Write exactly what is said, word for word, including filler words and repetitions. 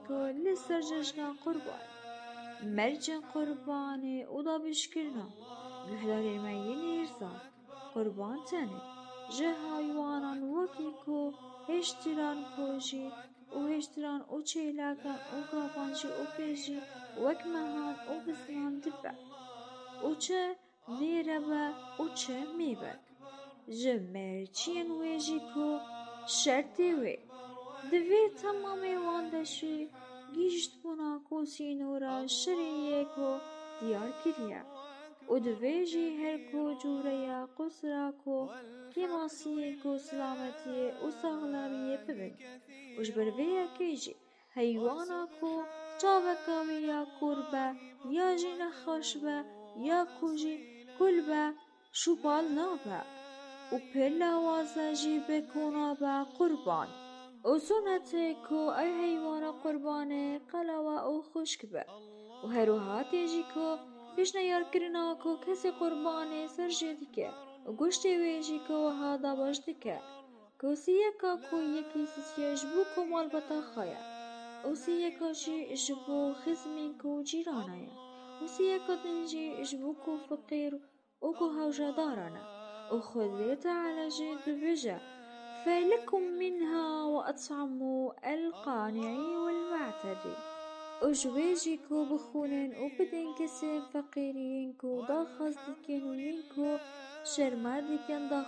ku li ser cejna qurban, mercên qurbanê û dabîşkirina guhdarên me yên hêrsan, qurban tenê ji heywanan wekî ku hêştiran kojî û hêştiran û çêlakan û gavan jî û pê jî wek mehan û biznan dibe û çi nêre be û çi mê be. Ji merciyên wê jî ku şertê wê, divê temamê wan de jî gihîştbûna ku sînora şerê yê ku diyar kiriye û divê jî her ku cûreya qusra ku kêmasiyê ku silametiyê û saxlemiyê bibin û ji ber vê yekê jî heywana ku çaveka wî ya kûr be ya jî nexweş be ya ku jî kul be şûpal nabe û pir lawaze jî bi ku nabe qurban. Û sunetê ku ev heywana qurbanê qelewe û xwişk be û her wiha tê jî ku pêşniyarkirina ku kesê qurbanê ser jê dike û goştê wê jî ku wiha dabeş dike. Ku siyeka ku yekî sisiye ji bo ku malbata xwe ye û siyeka jî ji bo xizmên ku cîrana ye û siyeka din jî ji bo ku feqîr û ku hewcedaran e. Û Xwedê Teala jî dibêje, فكلوا منها وأطعموا القانع والمعتر. Û ji wê jî ku bixwînin û bidin kesên feqîriyên ku daxwaz dikin û yên ku şerme dikin